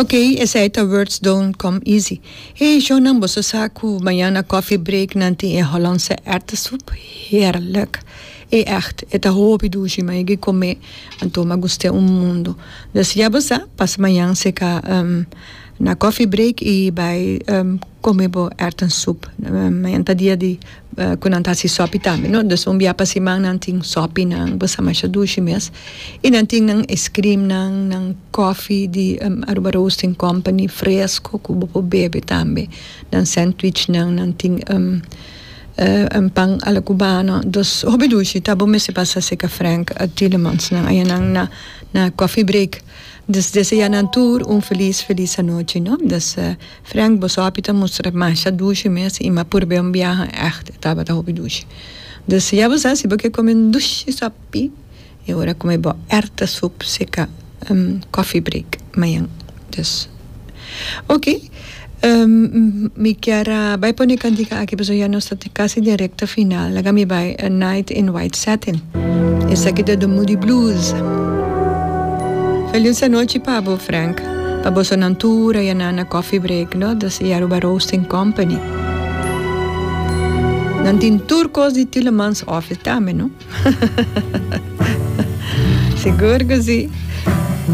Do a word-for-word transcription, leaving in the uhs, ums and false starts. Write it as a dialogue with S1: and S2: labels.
S1: Ok, esey ta Words Don't Come Easy. Hey, shownan, boso sa cu mañan na Coffee Break nan tin e Hollandse erwtensoep? Heerlijk. E echt, e ta hopi dushi, mi a yega come, anto m'a gust'e un mundo. Dus ya bo sa, pasa mañan seca um, na Coffee Break y bay um, come bo erwtensoep. Um, mañan ta dia di uh, cu nan ta haci sopi tambe, no? Dus un bia pa siman nan tin sopi nan, bo sa, masha dushi mes. Y nan tin nan ice cream nan, nan coffee di um, Aruba Roasting Company fresco cu bo por bebe tambe. Nan sandwich nan, nan tin um, uh, un pan a la cubano. Dus hopi dushi, ta bo mester pasa seca Frank uh, Tielemans nan aya nan na na Coffee Break. Dus desea nan tur un feliz feliz anochi, no? Dus uh, Frank, bo sopi ta mustra masha dushi mes y m'a purbe un biaha, echt, tabata hopi dushi. Dus ya bo sa, si bo ke come un dushi sopi, e ora come bo erwtensoep seca um, Coffee Break mañan. Dus ok. Um, mi kier a bay pone cantica aki, pasobra ya nos ta casi den recta final. Laga mi bay A Night in White Satin. Esaki ta The Moody Blues. Feliz anochi pa bo, Frank. Pa boso nan tur aya na na Coffee Break, no? Dus Aruba Roasting Company. Nan tin tur cos di Tielemans Office tambe, no? Sigur cu si.